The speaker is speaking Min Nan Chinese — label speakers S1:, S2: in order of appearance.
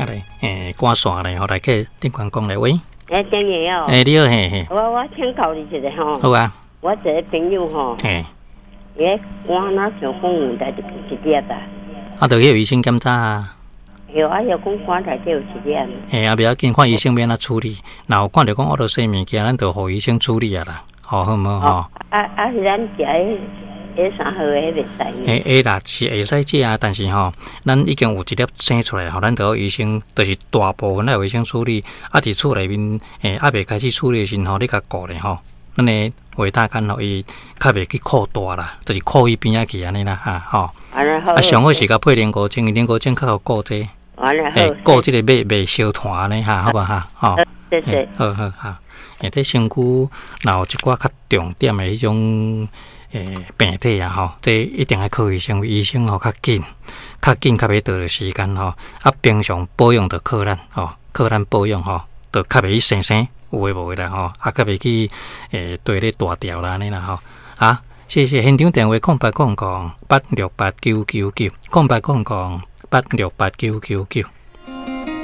S1: 啊來，趕線咧，吼，來去頂懸講咧，喂，
S2: 欸，頂個哦，
S1: 欸，你好，嘿嘿，
S2: 我請教你一下吼。
S1: 好啊。
S2: 我一個朋友吼，伊个肝若像講有內底一粒啊。
S1: 啊，就去予醫生檢查啊。
S2: 對啊，又講肝內底有一粒。
S1: 嘿，啊，袂要緊，看醫生欲按怎處理。若有看著講烏落西物件，咱就予醫生處理啊啦，吼，好毋好吼？
S2: 啊啊，是咱食彼彼啥號的彼袂使？
S1: 會會啦，是會使食啊，但是吼，咱已經有一粒生出來吼，咱著予醫生，就是大部分愛予醫生處理。啊，佇厝內面，猶未開始處理的時陣吼，你共顧咧吼，咱的維他肝吼，伊較袂去擴大啦，就是擴去邊仔去按呢啦，哈吼。啊，上好是共配靈菇精，靈菇精較好顧這個，欸，顧這個袂袂燒炭按呢哈，好無哈？吼，
S2: 謝謝。
S1: 好好好，欸，這身軀若有一寡較重點的彼種病體啊吼，這一定愛靠醫生，醫生吼較緊，較緊較袂耽時間吼。啊，平常保養就靠咱吼，靠咱保養吼，就較袂去生生有的無的啦吼，啊，較袂去綴咧大條啦按呢啦吼。啊，謝謝現場電話0800868999，0800868999。